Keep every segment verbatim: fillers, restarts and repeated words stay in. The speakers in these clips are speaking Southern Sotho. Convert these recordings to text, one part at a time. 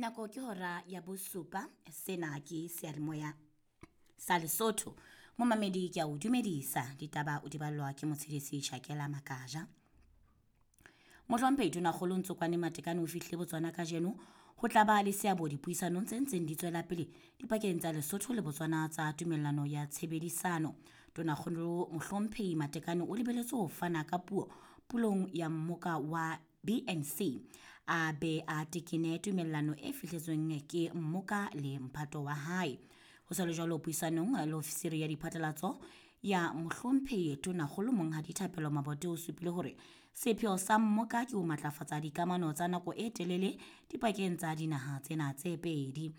Nako ke hora ya bosupa. Sena ke seyalemoya sa Lesotho. Momamedi ke a o dumedisa. Ditaba o di ballwa ke Motshedisi Shakela Makaja. Mohlomphehi Tonakgolo Ntsokwane Matekane o fihlile Botswana kajeno ho tla ba le seabo dipuisanong tse ntseng di tswela pele dipakeng tsa Lesotho le Botswana tsa tumellano ya tshebedisano. Tonakgolo Mohlomphehi Matekane o lebeletswe ho fana ka puo pulong ya mmoka wa B N C a be a tekene tumellano e fihletsweng ke mmoka le mphato wa hae. Ho sa le jwalo puisanong le ofisiri ya diphatlalatso ya Mohlomphehi Tonakgolo Monghadi Thapelo Mabote o supile hore sepheo sa mmoka ke ho matlafatsa dikamano tsa nako e telele dipakeng tsa dinaha tsena tse pedi.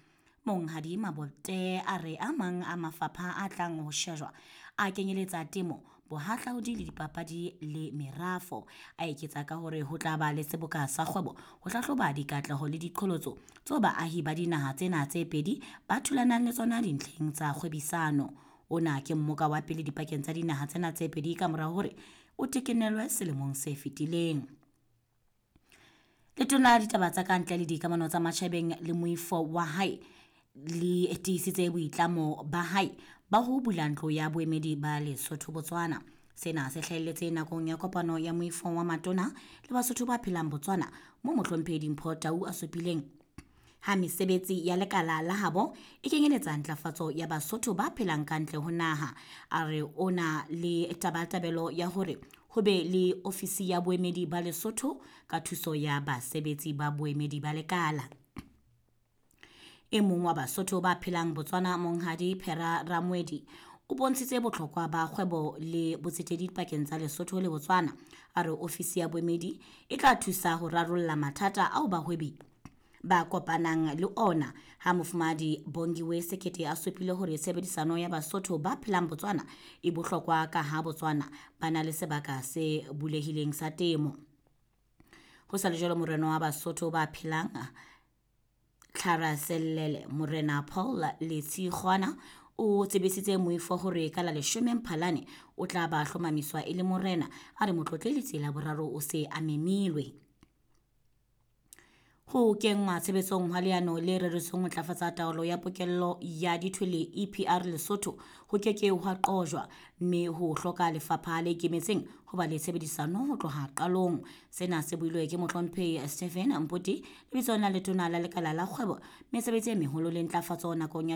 Monghadi Mabote a re a mang a mafapha a tlang ho shejwa a kenyeletsa temo, bohahlaudi le dipapadi le merafo. A eketsa ka hore ho tla ba le seboka sa kgwebo ho hlahloba dikatleho le diqholotso tseo baahi ba dinaha tsena tse pedi ba thulanang le tsona dintlheng tsa kgwebisano. Ona ke mmoka wa pele dipakeng tsa dinaha tsena tse pedi ka mora hore o tekenelwe selemong se fetileng. Letona la ditaba tsa ka ntle le dikamano tsa matjhabeng le moifo wa hae le tiisitse boitlamo ba hae ba ho bula ntlo ya boemedi ba Lesotho Botswana. Sena se hlahelletse nakong ya kopano ya moifo wa matona le Basotho ba phelang Botswana mo Mohlomphehi Dimpho Tau a supileng ha mesebetsi ya lekala la habo e kenyeletsa ntlafatso ya Basotho ba phelang ka ntle ho naha. A re o na le tabatabelo ya hore ho be le ofisi ya boemedi ba Lesotho ka thuso ya basebetsi ba boemedi ba lekala. E mong wa Basotho ba phelang Botswana Monghadi Phera Ramwedi o bontshitse bohlokwa ba kgwebo le botsetedi pakeng tsa Lesotho le Botswana. A re ofisi ya boemedi e tla thusa ho rarolla mathata ao bahwebi ba kopanang le ona. Ha Mofumahadi Bongiwe Sekete a supile hore tshebedisano ya Basotho ba phelang Botswana e bohlokwa ka ha Botswana ba na le sebaka se bulehileng sa temo. Ho sa le jwalo morena wa Basotho ba phelang Tlharaselele Morena Paul Letshikgwana o tsebisitse moifo hore ka la leshome Mphalane o tla ba hlomamiswa e le morena. A re motlotlehi Letsela boraro o se a memilwe. Ho kenngwa tshebetsong hwa leano le reretsweng ho ntlafatsa taolo ya pokello ya dithwele E P R Lesotho ho ke ke hwa qojwa, mme ho hloka lefapha le ikemetseng ho ba le tshebedisano ho tloha qalong. Sena se builwe ke Mohlomphehi Stephen Mpoti lebitsong la letona la lekala la kgwebo, mesebetsi e meholo le ntlafatso nakong ya